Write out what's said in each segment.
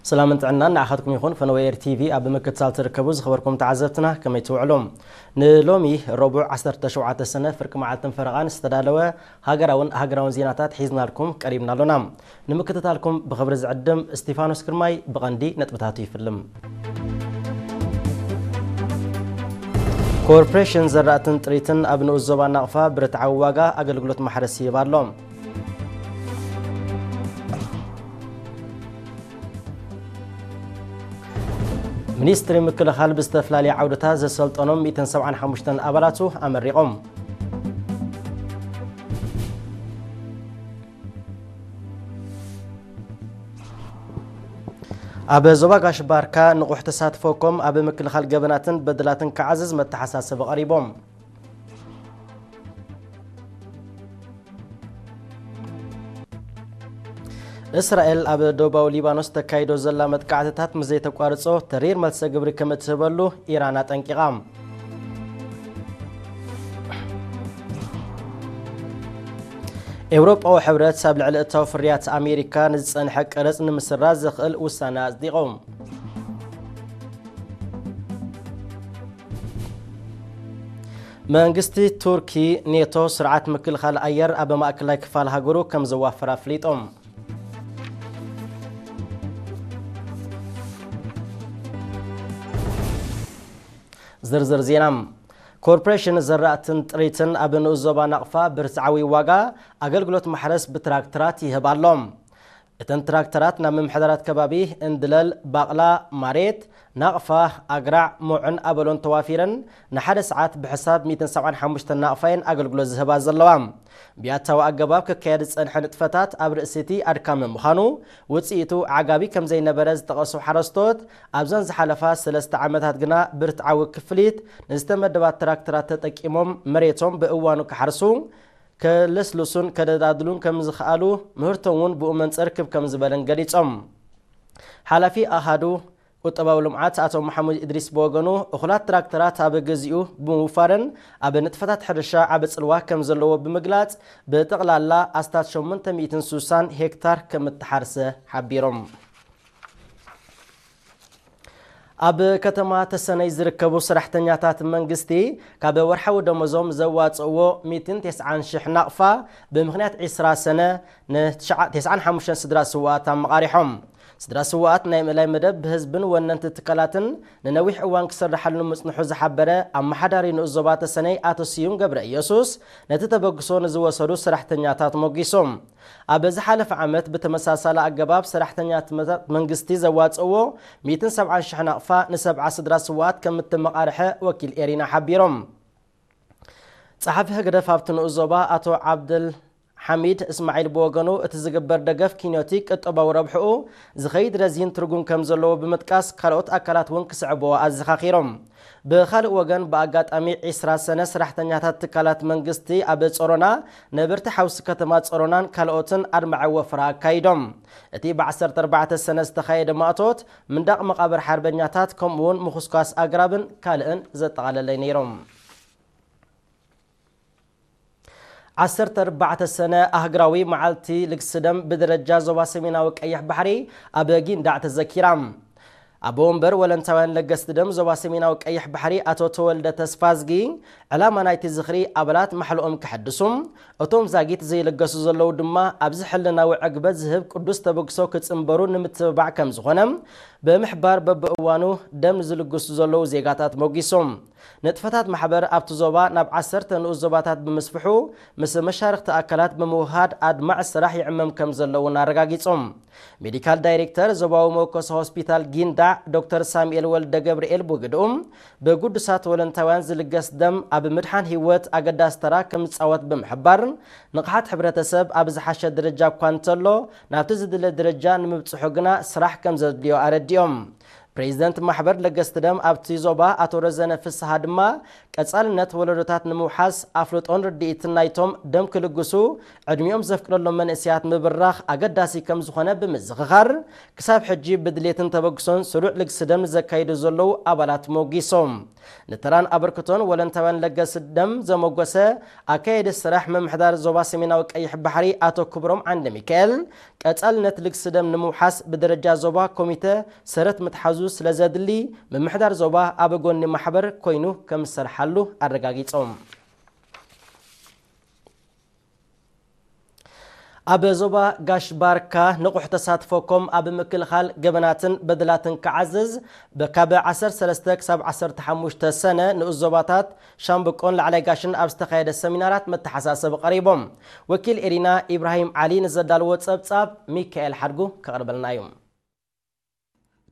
ሰላምን ጥዕናን ንዓኻትኩም ይኹን። ፈነወ ኤር ቲቪ ኣብ ምክትታል ትርከቡ ዝኸበርኩም ተዓዘብትና፣ ከመይ ትውዕሉ? ንሎሚ ረቡዕ ዓሰርተ ሸውዓተ ሰነ ፍርቂ መዓልትን ፈረቓን ዝተዳለወ ሃገራውን ሃገራውን ዜናታት ሒዝናልኩም ቀሪብና ኣሎና። ንምክትታልኩም ብኽብሪ ዝዕድም እስቲፋኖስ ግርማይ። ብቐንዲ ነጥብታቱ ይፍልም። ኮርፖሬሽን ዘራእትን ጥሪትን ኣብ ንኡስ ዞባ ናቕፋ ብርትዓዊ ዋጋ ኣገልግሎት ማሕረስ ይህብ ኣሎ። ሚኒስትሪ ምክልኻል ብዝተፈላለየ ዓውድታት ዘሰልጠኖም ሚእትን ሰብዓን ሓሙሽተን ኣባላቱ ኣመሪቖም። ኣብ ዞባ ጋሽ ባርካ ንቑሕ ተሳትፎ ኮም ኣብ ምክልኻል ገበናትን በደላትን ክዓዝዝ መተሓሳሰቢ ቀሪቦም። እስራኤል ኣብ ደቡባዊ ሊባኖስ ተካይዶ ዘላ መጥቃዕትታት ምስ ዘይተቋርጾ ተሪር መልሰ ግብሪ ከም እትህበሉ ኢራን ኣጠንቂቓ። ኤውሮጳዊ ሕብረት ኣብ ልዕሊ እታዊ ፍርያት ኣሜሪካ ንዝጸንሐ ቀረጽ ንምስራዝ ዘኽእል ውሳነ ኣጽዲቑ። መንግስቲ ቱርኪ ኔቶ ስርዓት ምክልኻል ኣየር ኣብ ማእከላይ ክፋል ሃገሩ ከም ዘዋፍር ኣፍሊጡ። ዝርዝር ዜና። ኮርፖሬሽን ዘራእትን ጥሪትን ኣብ ንኡስ ዞባ ናቕፋ ብርትዓዊ ዋጋ ኣገልግሎት ማሕረስ ብትራክተራት ይህብ ኣሎ። እተን ትራክተራት ናብ ምምሕዳራት ከባቢ እንድለል፣ ባቕላ፣ ማሬት፣ ናቕፋ፣ ኣግራዕ፣ ሞዑን ኣበሎን ተዋፊረን ንሓደ ሰዓት ብሕሳብ ሚእትን ሰብዓን ሓሙሽተን ናቕፋ እየን ኣገልግሎት ዝህባ ዘለዋ። ብያታዊ ኣገባብ ክካየድ ዝጸንሐ ንጥፈታት ኣብ ርእሲ እቲ ኣድካሚ ምዃኑ፣ ውጽኢቱ ዓጋቢ ከም ዘይነበረ ዝጠቐሱ ሓረስቶት፣ ኣብዘን ዝሓለፋ ሰለስተ ዓመታት ግና ብርትዓዊ ክፍሊት ንዝተመደባ ትራክተራት ተጠቂሞም መሬቶም ብእዋኑ ክሓርሱ፣ ከለስልሱን ከደላድሉን ከም ዝኸኣሉ፣ ምህርቶም እውን ብኡ መንጽር ክብ ከም ዝበለን ገሊጾም። ሓላፊ ኣሃዱ ቁጠባዊ ልምዓት ኣቶ መሓሙድ እድሪስ ብወገኑ፣ እኹላት ትራክተራት ኣብ ግዚኡ ብምውፋረን ኣብ ንጥፈታት ሕርሻ ዓቢ ጽልዋ ከም ዘለዎ ብምግላጽ፣ ብጠቕላላ ኣስታት ሸሞንተ ሚእትን ስሳን ሄክታር ከም እተሓርሰ ሓቢሮም። ኣብ ከተማ ተሰነይ ዝርከቡ ሰራሕተኛታት መንግስቲ፣ ካብ ወርሓዊ ደሞዞም ዘዋጽእዎ ሚእትን ተስዓን ሽሕ ናቕፋ፣ ብምኽንያት ዒስራ ሰነ ንተስዓን ሓሙሽተን ስድራ ስውኣት ኣመቓሪሖም። ስድራ ስውኣት ናይ ምእላይ መደብ ብህዝብን ወነንቲ ትካላትን ንነዊሕ እዋን ክስርሓሉ ምጽንሑ ዝሓበረ ኣመሓዳሪ ንኡስ ዞባ ተሰነይ ኣቶ ስዩም ገብረ ኢየሱስ፣ ነቲ ተበግሶ ንዝወሰዱ ሰራሕተኛታት ሞጊሶም። ኣብ ዝሓለፈ ዓመት ብተመሳሳሊ ኣገባብ ሰራሕተኛታት መንግስቲ ዘዋጽእዎ ሚእትን ሰብዓን ሽሕ ናቕፋ ንሰብዓ ስድራ ስውኣት ከም እተመቓርሐ ወኪል ኤሪና ሓቢሮም። ጸሓፊ ህግደፍ ኣብቲ ንኡስ ዞባ ኣቶ ዓብደል ሓሚድ እስማዒል ብወገኑ፣ እቲ ዝግበር ደገፍ ኪንዮቲ ቅጠባዊ ረብሕኡ ዝኸይድ ረዚን ትርጉም ከም ዘለዎ ብምጥቃስ፣ ካልኦት ኣካላት እውን ክስዕብዎ ኣዘኻኺሮም። ብኻልእ ወገን፣ ብኣጋጣሚ ዒስራ ሰነ ሰራሕተኛታት ትካላት መንግስቲ ኣብ ጾሮና፣ ነበርቲ ሓውሲ ከተማ ጾሮናን ካልኦትን ኣድማዒ ወፈራ ኣካይዶም። እቲ ብ ዓሰርተ ኣርባዕተ ሰነ ዝተኻየደ ማእቶት፣ ምንዳቕ መቓብር ሓርበኛታት፣ ከምኡ እውን ምኹስኳስ ኣግራብን ካልእን ዘጠቓለለ ነይሮም። ዓሰርተ ኣርባዕተ ሰነ ኣህግራዊ መዓልቲ ልግሲ ደም ብደረጃ ዞባ ሰሜናዊ ቀይሕ ባሕሪ ኣብ ጊንዳዕ ተዘኪራ። ኣቦ ወንበር ወለንታውያን ለገስቲ ደም ዞባ ሰሜናዊ ቀይሕ ባሕሪ ኣቶ ተወልደ ተስፋዝጊ፣ ዕላማ ናይቲ ዝኽሪ ኣባላት ማሕልኦም ከሐድሱ፣ እቶም ዛጊት ዘይለገሱ ዘለዉ ድማ ኣብዚ ሕልናዊ ዕግበት ዝህብ ቅዱስ ተበግሶ ክጽንበሩ ንምትብባዕ ከም ዝኾነ ብምሕባር፣ በብእዋኑ ደም ንዝልግሱ ዘለዉ ዜጋታት ሞጊሶም። ንጥፈታት ማሕበር ኣብቲ ዞባ ናብ ዓሰርተ ንኡስ ዞባታት ብምስፍሑ፣ ምስ መሻርኽቲ ኣካላት ብምውሃድ ኣድማዒ ስራሕ ይዕመም ከም ዘሎ እውን ኣረጋጊጾም። ሜዲካል ዳይሬክተር ዞባዊ መወከሲ ሆስፒታል ጊንዳዕ ዶክተር ሳሙኤል ወልደ ገብርኤል ብግድኡ፣ ብግዱሳት ወለንታውያን ዝልገስ ደም ኣብ ምድሓን ህይወት ኣገዳሲ ተራ ከም ዝጻወት ብምሕባር፣ ንቕሓት ሕብረተሰብ ኣብ ዝሓሸ ደረጃ እኳ እንተሎ፣ ናብቲ ዝድለ ደረጃ ንምብጽሑ ግና ስራሕ ከም ዘድልዮ ኣረዲኦም። ፕሬዚደንት ማሕበር ለገስቲ ደም ኣብቲ ዞባ ኣቶ ረዘነ ፍስሃ ድማ፣ ቀጻልነት ወለዶታት ንምውሓስ ኣፍልጦን ርድኢትን ናይቶም ደም ክልግሱ ዕድሚኦም ዘፍቅደሎም መንእሰያት ምብራኽ ኣገዳሲ ከም ዝኾነ ብምዝኽኻር፣ ክሳብ ሕጂ ብድሌትን ተበግሶን ስሩዕ ልግሲ ደም ንዘካይዱ ዘለዉ ኣባላት ሞጊሶም። ንተራን ኣበርክቶን ወለንታውያን ለገሲ ደም ዘሞገሰ ኣካየዲ ስራሕ ምምሕዳር ዞባ ሰሜናዊ ቀይሕ ባሕሪ ኣቶ ክብሮም ዓንደ ሚካኤል፣ ቀጻልነት ልግሲ ደም ንምውሓስ ብደረጃ ዞባ ኮሚተ ሰረት ምትሓዙ ስለ ዘድሊ፣ ምምሕዳር ዞባ ኣብ ጎኒ ማሕበር ኮይኑ ከም ዝሰርሓሉ ኣረጋጊጾም። ኣብ ዞባ ጋሽ ባርካ ንቑሕ ተሳትፎ ኮም ኣብ ምክልኻል ገበናትን በደላትን ክዓዝዝ፣ በ-፣ ካብ ዓሰርተ ሰለስተ ክሳብ ዓሰርተ ሓሙሽተ ሰነ ንኡስ ዞባታት ሻምብቆን ላዕላይ ጋሽን ኣብ ዝተኻየደ ሰሚናራት መተሓሳሰቢ ቀሪቦም። ወኪል ኤሪና ኢብራሂም ዓሊ ንዘዳልዎ ጸብጻብ ሚካኤል ሓድጉ ከቕርበልና እዩ።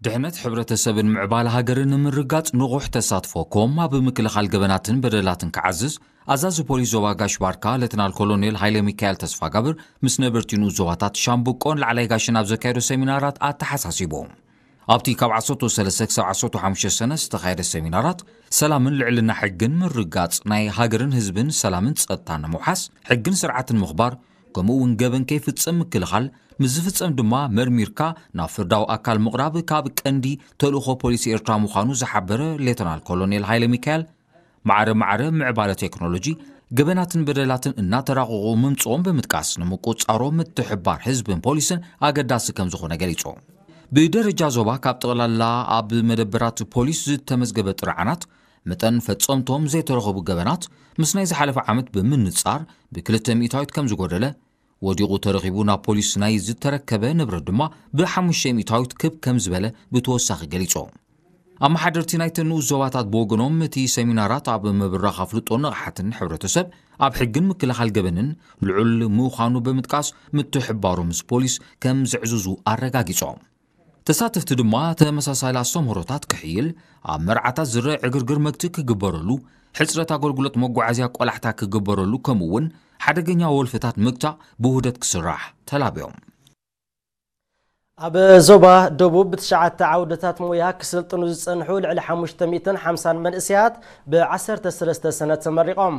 ድሕነት ሕብረተሰብን ምዕባለ ሃገርን ንምርጋጽ ንቑሕ ተሳትፎ ኮም ኣብ ምክልኻል ገበናትን በደላትን ክዓዝዝ፣ ኣዛዚ ፖሊስ ዞባ ጋሽ ባርካ ሌተናል ኮሎኔል ሃይለ ሚካኤል ተስፋጋብር ምስ ነበርቲ ንኡስ ዞባታት ሻምብቆን ላዕላይ ጋሽን ኣብ ዘካየዶ ሰሚናራት ኣተሓሳሲቡ። ኣብቲ ካብ ዓሰርተ ሰለስተ ክሳብ ዓሰርተ ሓሙሽተ ሰነ ዝተኻየደ ሰሚናራት፣ ሰላምን ልዕልና ሕግን ምርጋጽ፣ ናይ ሃገርን ህዝብን ሰላምን ጸጥታን ንምውሓስ፣ ሕግን ስርዓትን ምኽባር፣ ከምኡ እውን ገበን ከይፍጸም ምክልኻል፣ ምስ ዝፍጸም ድማ መርሚርካ ናብ ፍርዳዊ ኣካል ምቕራብ ካብ ቀንዲ ተልእኾ ፖሊስ ኤርትራ ምዃኑ ዝሓበረ ሌተናል ኮሎኔል ሃይለ ሚካኤል፣ ማዕረ ማዕረ ምዕባለ ቴክኖሎጂ ገበናትን በደላትን እናተራቐቑ ምምጽኦም ብምጥቃስ፣ ንምቁጽጻሮም ምትሕብባር ህዝብን ፖሊስን ኣገዳሲ ከም ዝኾነ ገሊጹ። ብደረጃ ዞባ ካብ ጠቕላላ ኣብ መደበራት ፖሊስ ዝተመዝገበ ጥርዓናት መጠን ፈጸምቶም ዘይተረኸቡ ገበናት ምስ ናይ ዝሓለፈ ዓመት ብምንጻር ብክልተ ሚእታዊት ከም ዝጎደለ፣ ወዲቑ ተረኺቡ ናብ ፖሊስ ናይ ዝተረከበ ንብረት ድማ ብሓሙሽተ ሚእታዊት ክብ ከም ዝበለ ብተወሳኺ ገሊጹ። ኣመሓደርቲ ናይተን ንኡስ ዞባታት ብወገኖም፣ እቲ ሰሚናራት ኣብ ምብራኽ ኣፍልጦን ንቕሓትን ሕብረተሰብ ኣብ ሕግን ምክልኻል ገበንን ልዑል ምዃኑ ብምጥቃስ፣ ምትሕብባሮም ምስ ፖሊስ ከም ዘዕዝዙ ኣረጋጊጾም። ተሳተፍቲ ድማ ተመሳሳሊ ኣስተምህሮታት ክሕይል፣ ኣብ መርዓታት ዝረአ ዕግርግር መግትኢ ክግበረሉ፣ ሕጽረት ኣገልግሎት መጓዓዝያ ቆላሕታ ክግበረሉ፣ ከምኡ እውን ሓደገኛ ወልፍታት ምግታእ ብውህደት ክስራሕ ተላብዮም። ኣብ ዞባ ደቡብ ብትሽዓተ ዓውድታት ሞያ ክስልጥኑ ዝጸንሑ ልዕሊ ሓሙሽተ ሚእትን ሓምሳን መንእሰያት ብዓሰርተ ሰለስተ ሰነ ተመሪቖም።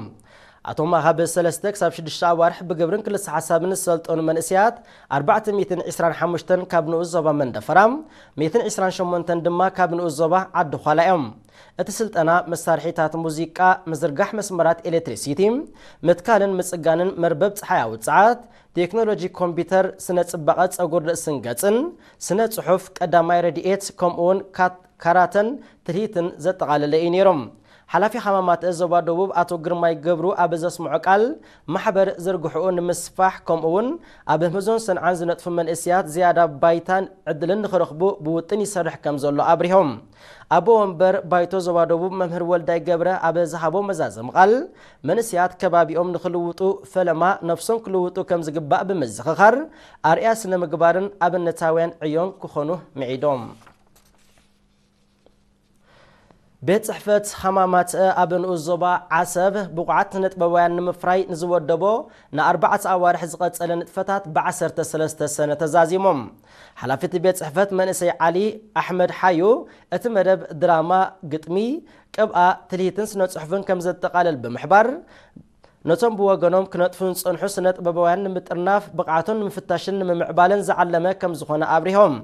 ኣቶም ካብ ሰለስተ ክሳብ ሽዱሽተ ኣዋርሕ ብግብርን ክልሰ ሓሳብን ዝሰልጠኑ መንእሰያት ኣርባዕተ ሚእትን ዕስራን ሓሙሽተን ካብ ንኡስ ዞባ መንደፈራ፣ ሚእትን ዕስራን ሸሞንተን ድማ ካብ ንኡስ ዞባ ዓዲ ዃላ እዮም። እቲ ስልጠና መሳርሒታት ሙዚቃ፣ ምዝርጋሕ መስመራት ኤሌክትሪሲቲ፣ ምትካልን ምጽጋንን መርበብ ጸሓያዊ ጸዓት፣ ቴክኖሎጂ ኮምፒውተር፣ ስነ ጽባቐ ጸጉር ርእስን ገጽን፣ ስነ ጽሑፍ፣ ቀዳማይ ረድኤት፣ ከምኡውን ካት-፣ ካራተን ትልሂትን ዘጠቓለለ እዩ ነይሮም። ሓላፊ ሃማማት ዞባ ደቡብ ኣቶ ግርማይ ገብሩ ኣብ ዘስምዖ ቃል፣ ማሕበር ዝርግሕኡ ንምስፋሕ፣ ከምኡውን ኣብ ህምዞን ሰንዓን ዝነጥፉ መንእሰያት ዝያዳ ባይታን ዕድልን ንኽረኽቡ ብውጥን ይሰርሕ ከም ዘሎ ኣብሪሆም። ኣቦ ወንበር ባይቶ ዞባ ደቡብ መምህር ወልዳይ ገብረ ኣብ ዝሃቦ መዛዘሚ ቃል፣ መንእሰያት ከባቢኦም ንኽልውጡ ፈለማ ነፍሶም ክልውጡ ከም ዝግባእ ብምዝኽኻር፣ ኣርኣያ ስነ ምግባርን ኣብነታውያን ዕዮን ክኾኑ ምዒዶም። ቤት ጽሕፈት ሃማማት ኣብ ንኡስ ዞባ ዓሰብ ብቑዓት ስነጥበባውያን ንምፍራይ ንዝወደቦ ንኣርባዕተ ኣዋርሕ ዝቐጸለ ንጥፈታት ብዓሰርተ ሰለስተ ሰነ ተዛዚሞም። ሓላፊ እቲ ቤት ጽሕፈት መንእሰይ ዓሊ ኣሕመድ ሓዩ፣ እቲ መደብ ድራማ፣ ግጥሚ፣ ቅብኣ፣ ትልሂትን ስነ ጽሑፍን ከም ዘጠቓልል ብምሕባር፣ ነቶም ብወገኖም ክነጥፉ ዝጸንሑ ስነ ጥበባውያን ንምጥርናፍ፣ ብቕዓቶም ንምፍታሽን ንምምዕባልን ዝዓለመ ከም ዝኾነ ኣብሪሆም።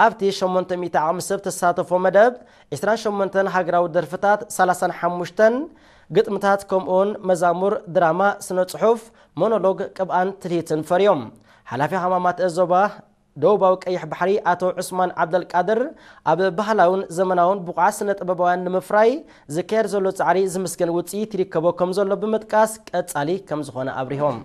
ኣብቲ ሸሞንተ ሚእቲ ዓቕሚ ሰብ ተሳተፎ መደብ፣ ዕስራን ሸሞንተን ሃገራዊ ደርፍታት፣ ሰላሳን ሓሙሽተን ግጥምታት፣ ከምኡውን መዛሙር፣ ድራማ፣ ስነ ጽሑፍ፣ ሞኖሎግ፣ ቅብኣን ትልሂትን ፈርዮም። ሓላፊ ሃማማት ዞባ ደቡባዊ ቀይሕ ባሕሪ ኣቶ ዑስማን ዓብደልቃድር፣ ኣብ ባህላውን ዘመናውን ብቑዓት ስነ ጥበባውያን ንምፍራይ ዝካየድ ዘሎ ጻዕሪ ዝምስገን ውጽኢት ይርከቦ ከም ዘሎ ብምጥቃስ፣ ቀጻሊ ከም ዝኾነ ኣብሪሆም።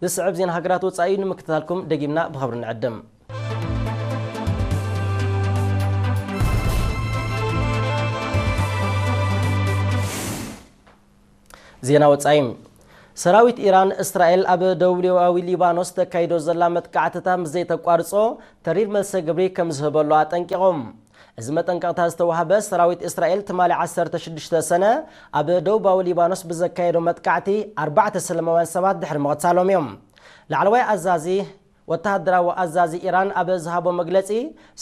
ዝስዕብ ዜና ሃገራት ወጻኢ ንምክትታልኩም ደጊምና ብኽብሪ ንዕድም። ዜና ወጻኢ። ሰራዊት ኢራን፣ እስራኤል ኣብ ደቡባዊ ሊባኖስ ተካይዶ ዘላ መጥቃዕትታት ምስ ዘይተቋርጾ፣ ተሪር መልሰ ግብሪ ከም ዝህበሉ ኣጠንቂቖም። እዚ መጠንቀቕታ ዝተዋህበ፣ ሰራዊት እስራኤል ትማሊ ዓሰርተ ሽዱሽተ ሰነ ኣብ ደቡባዊ ሊባኖስ ብዘካየዶ መጥቃዕቲ ኣርባዕተ ሰላማውያን ሰባት ድሕሪ ምቕታሎም እዮም። ላዕለዋይ ኣዛዚ ወተሃደራዊ ኣዛዚ ኢራን ኣብ ዝሃቦ መግለጺ፣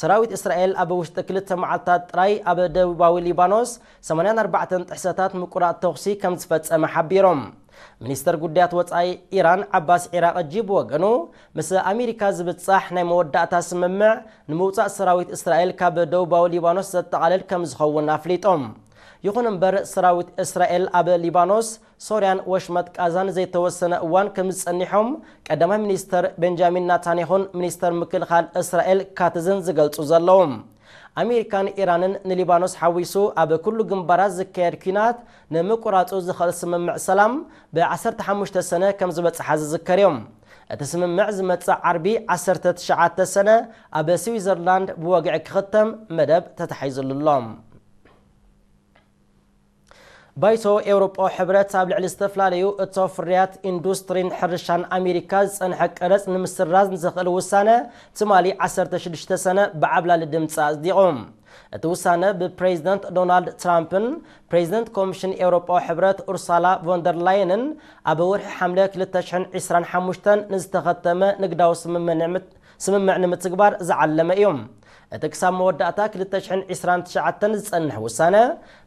ሰራዊት እስራኤል ኣብ ውሽጢ ክልተ መዓልታት ጥራይ ኣብ ደቡባዊ ሊባኖስ ሰማንያን ኣርባዕተን ጥሕሰታት ምቁራጽ ተኹሲ ከም ዝፈጸመ ሓቢሮም። ሚኒስተር ጉዳያት ወጻኢ ኢራን ዓባስ ዒራቕጂ ብወገኑ፣ ምስ ኣሜሪካ ዝብጻሕ ናይ መወዳእታ ስምምዕ ንምውጻእ ሰራዊት እስራኤል ካብ ደቡባዊ ሊባኖስ ዘጠቓልል ከም ዝኸውን ኣፍሊጦም። ይኹን እምበር፣ ሰራዊት እስራኤል ኣብ ሊባኖስ፣ ሶርያን ወሽመጥ ቃዛን ዘይተወሰነ እዋን ከም ዝጸንሖም ቀዳማይ ሚኒስተር ቤንጃሚን ናታንያሁን ሚኒስተር ምክልኻል እስራኤል ካትዝን ዝገልጹ ዘለዉ። ኣሜሪካን ኢራንን ንሊባኖስ ሓዊሱ ኣብ ኩሉ ግንባራት ዝካየድ ኲናት ንምቁራጹ ዝኽእል ስምምዕ ሰላም ብ ዓሰርተ ሓሙሽተ ሰነ ከም ዝበጽሓ ዝዝከር እዮም። እቲ ስምምዕ ዝመጽእ ዓርቢ ዓሰርተ ትሽዓተ ሰነ ኣብ ስዊዘርላንድ ብወግዒ ክኽተም መደብ ተታሒዙሉ ኣሎ። ባይቶ ኤውሮጳዊ ሕብረት ኣብ ልዕሊ ዝተፈላለዩ እቶ ፍርያት ኢንዱስትሪን ሕርሻን ኣሜሪካ ዝጸንሐ ቀረጽ ንምስራዝ ንዘኽእል ውሳነ ትማሊ ዓሰርተ ሽዱሽተ ሰነ ብዓብላሊ ድምፂ ኣጽዲቑ። እቲ ውሳነ ብፕሬዚደንት ዶናልድ ትራምፕን ፕሬዚደንት ኮሚሽን ኤውሮጳዊ ሕብረት ኡርሳላ ቮንደር ላየንን ኣብ ወርሒ ሓምለ ክልተ ሽሕን ዕስራን ሓሙሽተን ንዝተኸተመ ንግዳዊ ስምምዕ ንምት-፣ ስምምዕ ንምትግባር ዝዓለመ እዩ። እቲ ክሳብ መወዳእታ ክልተ ሽሕን ዕስራን ትሽዓተን ዝጸንሕ ውሳነ፣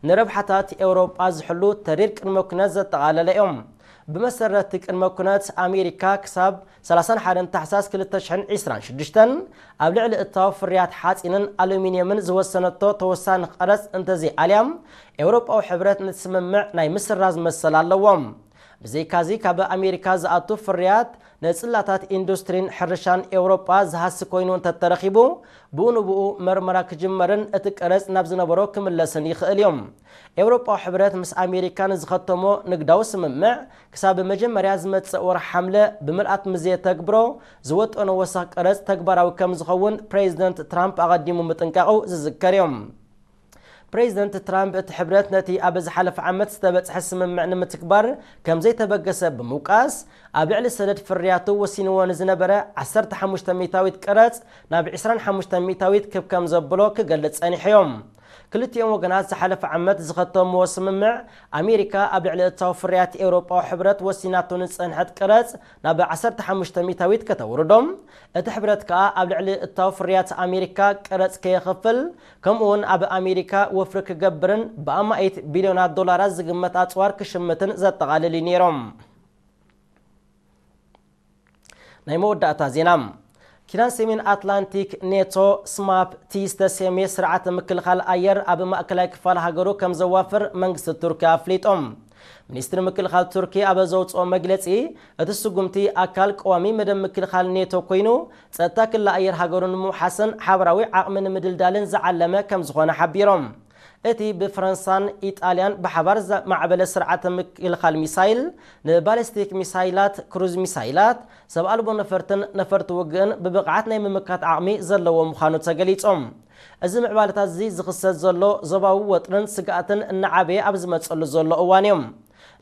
ንረብሓታት ኤውሮጳ ዝሕሉ ተሪር ቅድመ ኩነት ዘጠቓለለ እዩ። ብመሰረት እቲ ቅድመ ኩነት፣ ኣሜሪካ ክሳብ ሰላሳን ሓደን ታሕሳስ ክልተ ሽሕን ዕስራን ሽዱሽተን ኣብ ልዕሊ እታው ፍርያት ሓጺንን ኣሉሚንየምን ዝወሰነቶ ተወሳኺ ቀረጽ እንተዘይኣልያ፣ ኤውሮጳዊ ሕብረት ነቲ ስምምዕ ናይ ምስራዝ መሰል ኣለዎ። ብዘይካዚ፣ ካብ ኣሜሪካ ዝኣቱ ፍርያት ንጽላታት ኢንዱስትሪን ሕርሻን ኤውሮጳ ዝሃሲ ኮይኑ እንተተረኺቡ፣ ብኡ ንብኡ መርመራ ክጅመርን እቲ ቀረጽ ናብ ዝነበሮ ክምለስን ይኽእል እዩ። ኤውሮጳዊ ሕብረት ምስ ኣሜሪካ ንዝኸተሞ ንግዳዊ ስምምዕ፣ ክሳብ መጀመርያ ዝመጽእ ወርሒ ሓምለ ብምልኣት ምስ ዘየተግብሮ፣ ዝወጠኖ ወሰኽ ቀረጽ ተግባራዊ ከም ዝኸውን ፕሬዚደንት ትራምፕ ኣቐዲሙ ምጥንቃቑ ዝዝከር እዩ። ፕሬዚደንት ትራምፕ፣ እቲ ሕብረት ነቲ ኣብ ዝሓለፈ ዓመት ዝተበጽሐ ስምምዕ ንምትግባር ከም ዘይተበገሰ ብምውቃስ፣ ኣብ ልዕሊ ሰደድ ፍርያቱ ወሲንዎ ንዝነበረ ዓሰርተ ሓሙሽተ ሚእታዊት ቀረጽ ናብ ዕስራን ሓሙሽተ ሚእታዊት ክብ ከም ዘብሎ ክገልጽ ጸኒሑ እዩ። ክልቲኦም ወገናት ዝሓለፈ ዓመት ዝኸተምዎ ስምምዕ፣ ኣሜሪካ ኣብ ልዕሊ እታው ፍርያት ኤውሮጳዊ ሕብረት ወሲናቶ ንዝጸንሐት ቀረጽ ናብ ዓሰርተ ሓሙሽተ ሚእታዊት ከተውርዶ፣ እቲ ሕብረት ከኣ ኣብ ልዕሊ እታው ፍርያት ኣሜሪካ ቀረጽ ከየኽፍል፣ ከምኡውን ኣብ ኣሜሪካ ወፍሪ ክገብርን ብኣማኢት ቢልዮናት ዶላራት ዝግመት ኣጽዋር ክሽምትን ዘጠቓልል እዩ ነይሮም። ናይ መወዳእታ ዜና። ኪዳን ሰሜን ኣትላንቲክ ኔቶ፣ ስማፕ፣ እቲ ዝተሰምየ ስርዓተ ምክልኻል ኣየር ኣብ ማእከላይ ክፋል ሃገሩ ከም ዘዋፍር መንግስቲ ቱርኪ ኣፍሊጡ። ሚኒስትሪ ምክልኻል ቱርኪ ኣብ ዘውፅኦ መግለፂ፣ እቲ ስጉምቲ ኣካል ቀዋሚ መደብ ምክልኻል ኔቶ ኮይኑ፣ ጸጥታ ክሊ ኣየር ሃገሩ ንምውሓስን ሓበራዊ ዓቕሚ ንምድልዳልን ዝዓለመ ከም ዝኾነ ሓቢሮም። እቲ ብፈረንሳን ኢጣልያን ብሓባር ዘማዕበለ ስርዓተ ምክልኻል ሚሳይል፣ ንባሊስቲክ ሚሳይላት፣ ክሩዝ ሚሳይላት፣ ሰብ ኣልቦ ነፈርትን ነፈርቲ ውግእን ብብቕዓት ናይ ምምካት ዓቕሚ ዘለዎ ምዃኑ ተገሊጹ። እዚ ምዕባለታት እዚ ዝኽሰት ዘሎ ዞባዊ ወጥርን ስግኣትን እናዓበየ ኣብ ዝመጸሉ ዘሎ እዋን እዩ።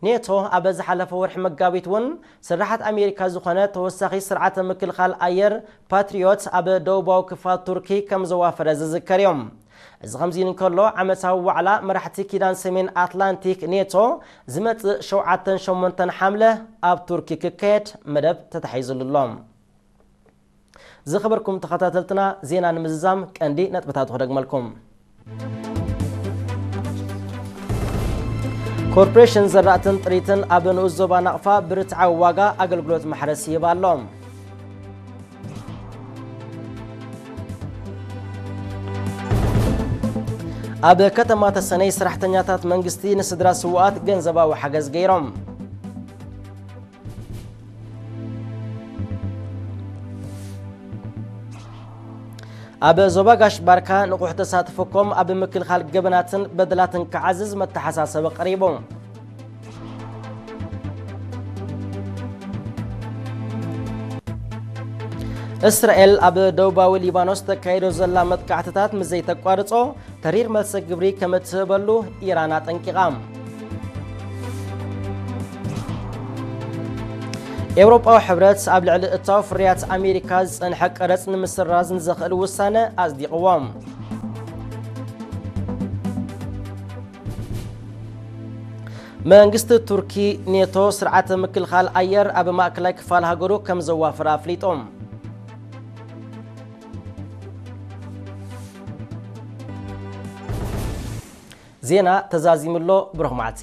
ኔቶ ኣብ ዝሓለፈ ወርሒ መጋቢት እውን ስራሓት ኣሜሪካ ዝኾነ ተወሳኺ ስርዓተ ምክልኻል ኣየር ፓትሪዮት ኣብ ደቡባዊ ክፋል ቱርኪ ከም ዘዋፈረ ዝዝከር እዩ። እዚ ከምዚ ኢሉ እንከሎ፣ ዓመታዊ ዋዕላ መራሕቲ ኪዳን ሰሜን ኣትላንቲክ ኔቶ ዝመጽእ ሸውዓተን ሸሞንተን ሓምለ ኣብ ቱርኪ ክካየድ መደብ ተታሒዙሉ ኣሎ። ዝኸበርኩም ተኸታተልትና፣ ዜና ንምዝዛም ቀንዲ ነጥብታቱ ክደግመልኩም። ኮርፖሬሽን ዘራእትን ጥሪትን ኣብ ንኡስ ዞባ ናቕፋ ብርትዓዊ ዋጋ ኣገልግሎት ማሕረስ ይህብ ኣሎ። ኣብ ከተማ ተሰነይ ሰራሕተኛታት መንግስቲ ንስድራ ስውኣት ገንዘባዊ ሓገዝ ገይሮም። ኣብ ዞባ ጋሽ ባርካ ንቑሕ ተሳትፎኩም ኣብ ምክልኻል ገበናትን በደላትን ክዓዝዝ መተሓሳሰቢ ቀሪቡ። እስራኤል ኣብ ደቡባዊ ሊባኖስ ተካይዶ ዘላ መጥቃዕትታት ምስ ዘይተቋርጾ፣ ተሪር መልሰ ግብሪ ከም እትህበሉ ኢራን ኣጠንቂቓ። ኤውሮጳዊ ሕብረት ኣብ ልዕሊ እታው ፍርያት ኣሜሪካ ዝጸንሐ ቀረጽ ንምስራዝ ንዘኽእል ውሳነ ኣጽዲቕዎ። መንግስቲ ቱርኪ፣ ኔቶ ስርዓተ ምክልኻል ኣየር ኣብ ማእከላይ ክፋል ሃገሩ ከም ዘዋፍር ኣፍሊጡ። ዜና ተዛዚሙ ኣሎ። ብሩኽ መዓልቲ።